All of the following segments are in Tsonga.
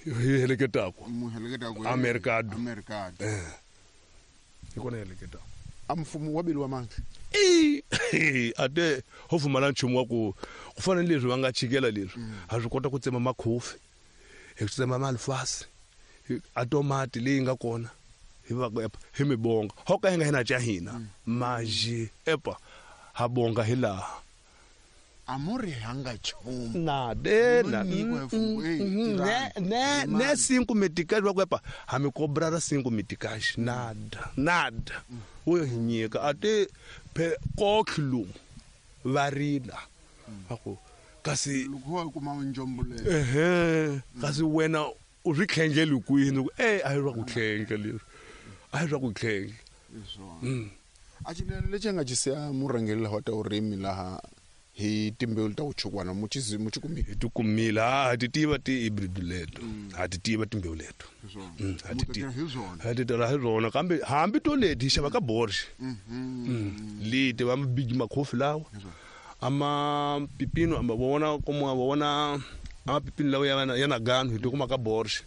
Hi heleketaku. Mu heleketaku A mercado. A mercado. Hi kona hi heleketaku. A mfumo wa beliwa mandla. I a te ho pfumala nchumu wa ku ku fana ni leswi va nga chikela leswi. Ha swi kota ku tsema makhofi, hi tsema malifasi, a tomati leyi nga kona hi va epa hi mi bonga. Ho ka hi nga hina ca hina maji epa ha bonga hi laha. A mu ri hanga nchumu. Na de na. Mu nyikiwa hi mfumo, ey, tirhani. Ne, ne, ne 5 metikaji va ku epa ha mi kobrara 5 metikaji. Nada, nada. Wo hi nyika a te phe kotlhi lomu va rila. Va ku kasi loko wa kuma njombo leyi. Ehe, kasi wena u swi tlhengeli kwini? Ku, a hi swa ku tlhengla leswi. A hi swa ku tlhengla. Hi swona. A xilelo lexi a nga xi siya murhangeri laha wa ta vurimi laha hi timbewu ta vuchukwana mu xi mu xi kumile? Hi ti kumile. Ha ti tiva ti-hybrid leto. Ha ti tiva timbewu leto. Hi swona. Ha Mu ti ta tiva. tirha hi swona. Ha ti tirha hi swona. Kambe hambi to leti hi xava ka Bosch. Leti va big makhofi lawa. Hi swona. A ma pipino, a ma vona komo, a vona a ma pipino lawa ya na, ya na gano hi ti kuma ka Bosch.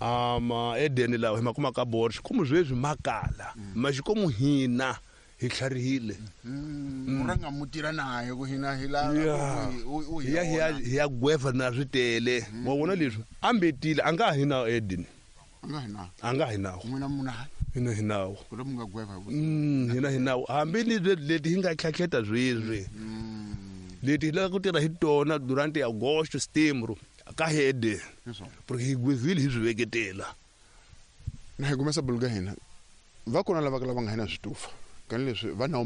A ma Eden lawa hi ma kuma ka Bosch. Komo sweswi ma kala. Ma xikomo hina hi tlharihile. Mu rhanga mu tirha naye ku hina hi la u hi Hi ya, hi ya, vona. hi ya gweva na swi tele. Wa vona leswi? A mbetile, a nga hi na Eden. A nga hi na. A nga hi nawo. N'wina mu na. Hina hi nawo. Ku ri mu nga gweva hi ku. Hina hi nawo. Hambi ni leti hi nga tlhatlheta sweswi. Leti hi lava ku tirha hi tona durante agosto, setembro, ka hede. Hi swona. Porque hi gwevile hi swi veketela. Na hi kumesa bulu ka hina. Va kona lava ka lava nga hina switufa. Kani leswi va nawo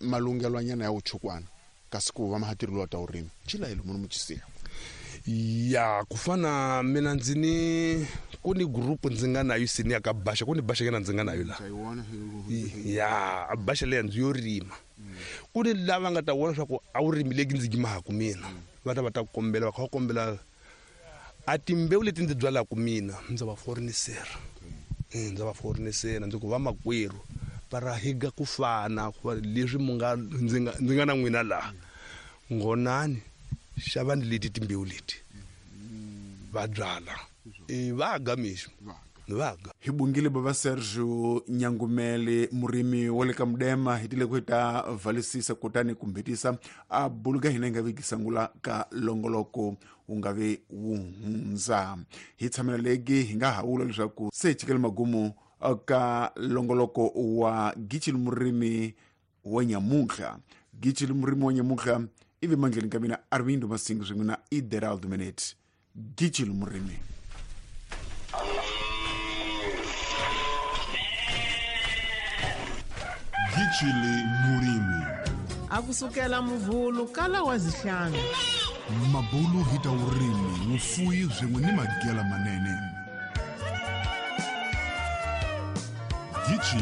malungelwanyana ya vuchukwana kasi ku va mahatirilo ta vurimi. Chila hi lomu mu xisiya. Ya, ku fana mina ndzi ni ku ni group ndzi nga na yo senior ka Basha, ku ni Basha yena ndzi nga na yo la. Ndza yi vona hi Ya, Basha leya ndzi yo rima. Ku ni lava nga ta vona leswaku a wu rimi leki ndzi yimaka mina. Va ta va ta kombela, va kha va kombela a timbewu leti ndzi byalaka mina, ndza va forenisera. Ndza va forenisera, ndzi ku vamakwerhu va ra higa ku fana, ku va leswi mu nga, ndzi nga, ndzi nga na n'wina laha. Ngonani, xavani leti timbewu leti. Va byala. Va ga mixo. Va ga. Hi bungile bava Sergio Nyangumele, murimi wa le ka Mudema, hi tile ku hi ta valisisa kutani ku mbhetisa a buluka hina hi nga vi gisangula ka longoloko wu nga vi wu hundza. Hi tshamela legi hi nga ha vula leswaku se hi chikele magumu ka longoloko wa Gichili murimi wa nyamuntlha. Gichili murimi wa nyamuntlha i ve mandleni ka mina Armindo Masingo swin'we na Ideraldo Menete. Gichili murimi. Gichili murimi. A kusukela muvhulu kala wa zihlanu. Mabulu hi ta vurimi, vufuwi swin'we ni magela manene. Gichili